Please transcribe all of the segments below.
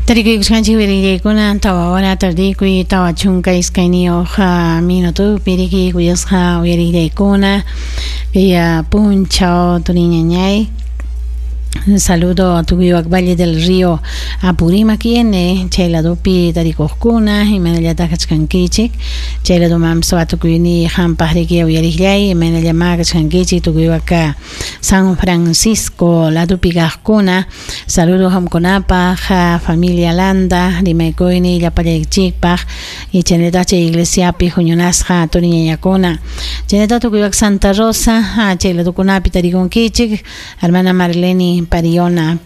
Tarikuykusqanchik uyarillaykuna 4 hora tardikuy 42 minutopi riki kuyasqa uyarillaykuna kay punchaw turiñañay. Saludo a tukuywan Valle del Río Apurímac N chay ladopi tarikuqkuna, imaynallataq kachkankichik chay ladomanpas watukuyniy qampaq riki uyariqllay, imaynallamá kachkankichik tukuywan San Francisco ladopi kaqkuna. Saludo qamkunapaq, familia Landa, rimaykuyniy llapallaykichikpaq y chaynallataq chay iglesiapi huñunasqa turiñañakuna, chaynallataq tukuywan Santa Rosa chay ladokunapi tarikunkichik. Hermana Marlene Pariona,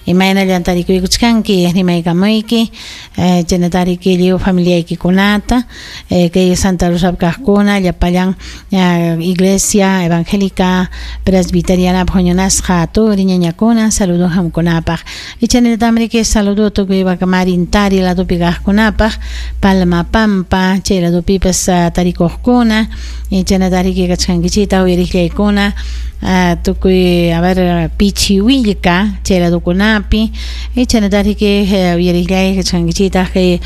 imaynallan tarikuykuchkanki, rimaykamuyki chaynallataq riki lliw familiaykikunata, kay Santa Rosapi kaqkuna, llapallan Iglesia Evangélica Presbiteriana huñunasqa turiñañakuna, saludo qamkunapaq. Y chaynallataqmi riki saludo tukuy Marintari ladopi kaqkunapaq, Palma Pampa chay ladopipas tarikuqkuna, y chaynallataq riki kachkankichikta uyariqllaykuna tukuy, a ver, Pichiwillka chay ladokunapi, y chaynallataq riki uyariqllay kachkankichikta kay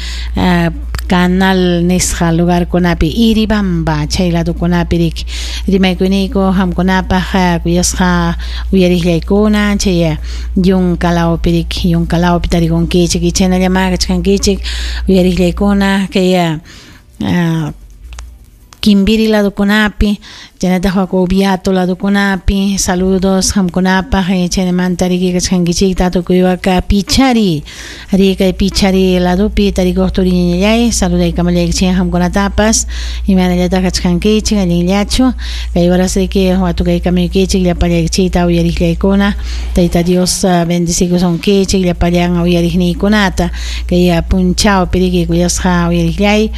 Canal nisqa lugarkunapi, Iribamba chay ladokunapi riki rimaykuyniyku qamkunapaq kuyasqa uyariqllaykuna chay Yunkalawpi riki, Yunkalawpi tarikunkichik. Y chaynallamá kachkankichik uyariqllaykuna kay Kimbiri ladokunapi, chaynallataq Oviato ladokunapi, saludos qamkunapaq. Chaynamanta riki kachkankichikta tukuywan Pichari, rikay Pichari ladopi tarikuq turiñañallay, saludaykamallaykichik qamkunatapas, imaynallataq kachkankichik, allinllachu kay horas riki watukaykamuykichik llapallaykichikta uyariqllaykuna. Tayta Dios bendecikusunkichik llapallan uyariqniykunata kay punchawpi riki kuyasqa uyariqllay,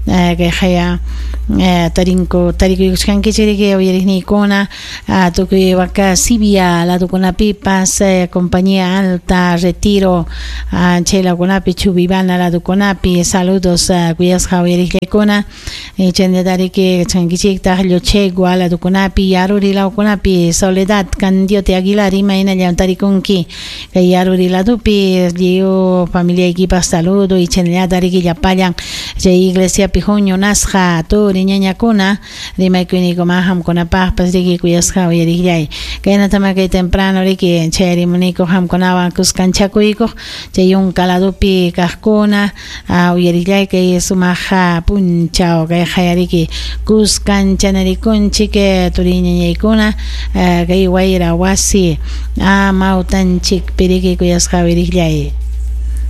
kay haya tarinku tarikuykuchkankichik riki uyariqniykuna tukuy waka Sibia ladokunapipas, Compañía Alta, Retiro chay ladokunapi, Chubibana ladokunapi, saludos kuyasqa uyariqllaykuna. Chaynallataq riki kachkankichiktaq Llochegua ladokunapi, Yaruri ladokunapi, Soledad Candiote Aguilar, imaynallam tarikunki kay Yaruri ladopi, lliw familiaykipaq saludo. Y chaynallataq riki llapallan chay iglesiapi huñunasqa turiñañakuna, rimaykuyniykuma qamkunapaqpas riki kuyasqa uyariqllay. Kaynatama kay temprano riki chayarimuniku qamkunawan kuskanchakuykuq chay Yunka ladopi kaqkuna uyariqllay kay sumaq punchaw kay qayariki kuskanchanarikunchik turiñañaykuna kay wayra wasi amawtanchikpi riki kuyasqa uyariqllay.